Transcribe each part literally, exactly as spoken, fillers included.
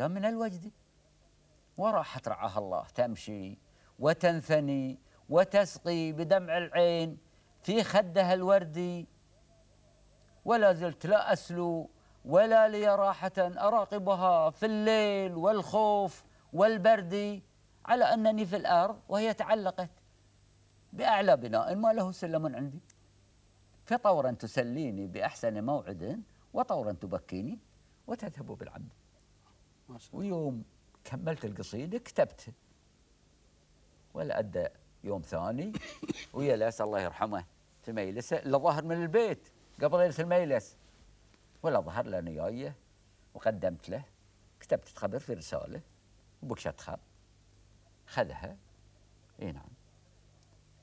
هذا من الوجد. وراحت رعاها الله تمشي وتنثني وتسقي بدمع العين في خدها الوردي، ولا زلت لا أسلو ولا لي راحة أراقبها في الليل والخوف والبرد، على أنني في الأرض وهي تعلقت بأعلى بناء ما له سلم عندي، فطورا تسليني بأحسن موعد وطورا تبكيني وتذهب بالعبد. ويوم كملت القصيدة كتبت، ولا أدى يوم ثاني ويا لاس الله يرحمه في ميلسه اللي ظهر من البيت قبل ليلة الميلس، ولا ظهر لنا جايه وقدمت له، كتبت خبر في رسالة وبكشت خط خذها. اي نعم.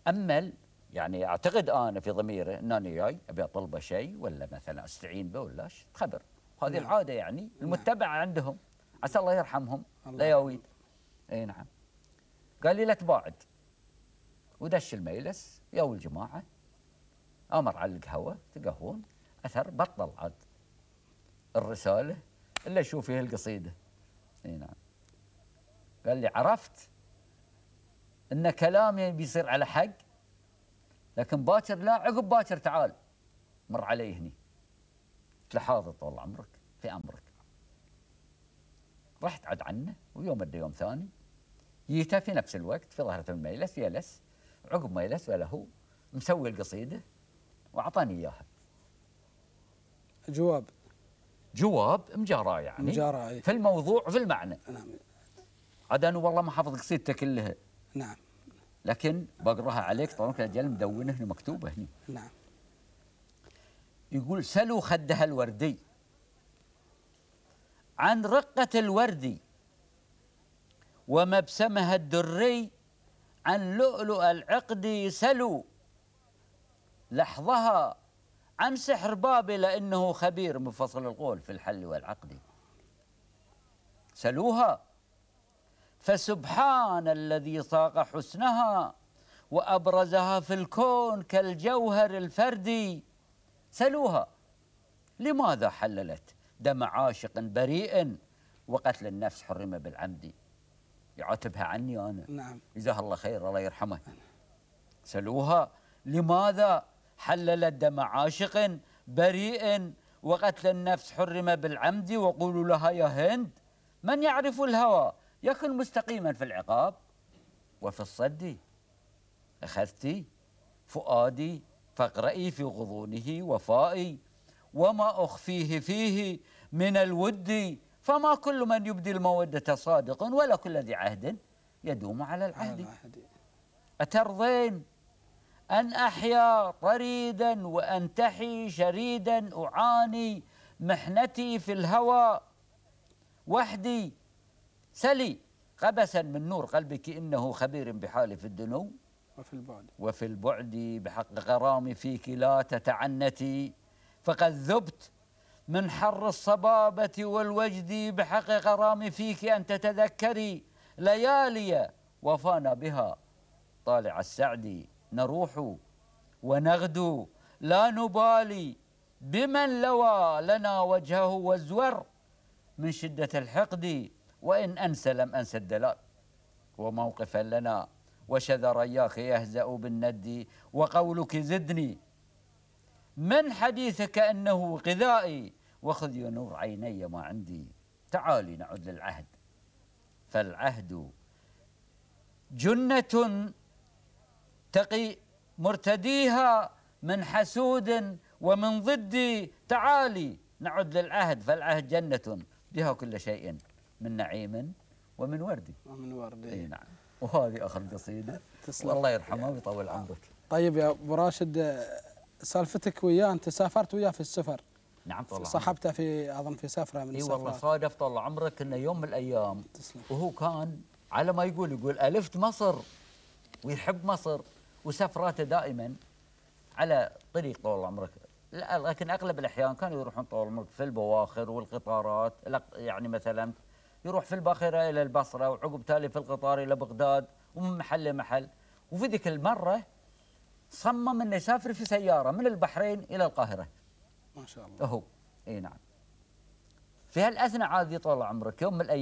أمل يعني أعتقد أنا في ضميره أنني جاي أبي أطلبه شيء ولا مثلا أستعين به ولا خبر، هذه نعم. العادة يعني المتبعة عندهم، عسى الله يرحمهم لا يويد. اي نعم. قال لي لا تباعد، ودش الميلس يا الجماعة أمر على القهوة تقهون، أثر بطل عاد الرسالة إلا أشوف فيها القصيدة. اي نعم. قال لي عرفت إن كلامي بيصير على حق، لكن باكر لا، عقب باكر تعال مر علي هني. قلت له حاضر طول عمرك في أمرك. رحت عد عنه، ويوم ادى يوم ثاني جيته في نفس الوقت في ظهرة الميلس يلس، عقب ما يلس ولا هو مسوي القصيدة وأعطاني إياها. جواب جواب مجاراه يعني مجاراه في الموضوع وفي المعنى. نعم. عاد أنا والله ما حافظ قصيدته كلها. نعم. لكن بقراها عليك طبعا كالجل مدونة هنا مكتوبة هنا. نعم. يقول سلوا خدها الوردي عن رقة الوردي، ومبسمها الدري عن لؤلؤ العقد، سلوا لحظها عن سحر بابل إنه خبير مفصل القول في الحل والعقد. سلوها فسبحان الذي صاغ حسنها وأبرزها في الكون كالجوهر الفردي. سلوها لماذا حللت دم عاشق بريء وقتل النفس حرم بالعمد. يعاتبها عني أنا. نعم. جزاه الله خير الله يرحمه. سلوها لماذا حللت دم عاشق بريء وقتل النفس حرم بالعمد، وقولوا لها يا هند من يعرف الهوى يكن مستقيما في العقاب، وفي الصد أخذتي فؤادي فاقرئي في غضونه وفائي، وما أخفيه فيه من الود، فما كل من يبدي المودة صادق ولا كل ذي عهد يدوم على العهد. أترضين أن أحيا طريدا وأنتحي شريدا أعاني محنتي في الهوى وحدي. سلي قبسا من نور قلبك إنه خبير بحالي في الدنو وفي البعد وفي البعد بحق غرامي فيك لا تتعنتي، فقد ذبت من حر الصبابة والوجد بحق غرامي فيك أن تتذكري ليالي وفانا بها طالع السعد، نروح ونغدو لا نبالي بمن لوى لنا وجهه وازور من شدة الحقد، وإن أنسى لم أنسى الدلال وموقفا لنا وشذر إياك يهزأ بالند، وقولك زدني من حديثك أنه غذائي وخذ نور عيني ما عندي. تعالي نعد للعهد فالعهد جنة تقي مرتديها من حسود ومن ضدي. تعالي نعد للعهد فالعهد جنة بها كل شيء من نعيم ومن ورد ومن ورد. اي نعم. وهذه اخر قصيده والله يرحمه ويطول عمرك. طيب يا ابو راشد، سالفتك وياه انت سافرت وياه في السفر. نعم طول عمرك. صاحبته في اظن في سفره من السفرات. اي والله صادف طول عمرك انه يوم من الايام تسلم. وهو كان على ما يقول يقول الفت مصر ويحب مصر، وسفراته دائما على طريق طول عمرك، لكن اغلب الاحيان كانوا يروحون طول عمرك في البواخر والقطارات، يعني مثلا يروح في الباخره الى البصره وعقب تالي في القطار الى بغداد ومن محل لمحل. وفي ذيك المره صمم انه يسافر في سياره من البحرين الى القاهره. ما شاء الله. هو اي نعم. في هالاثناء عاد طول عمرك يوم من الايام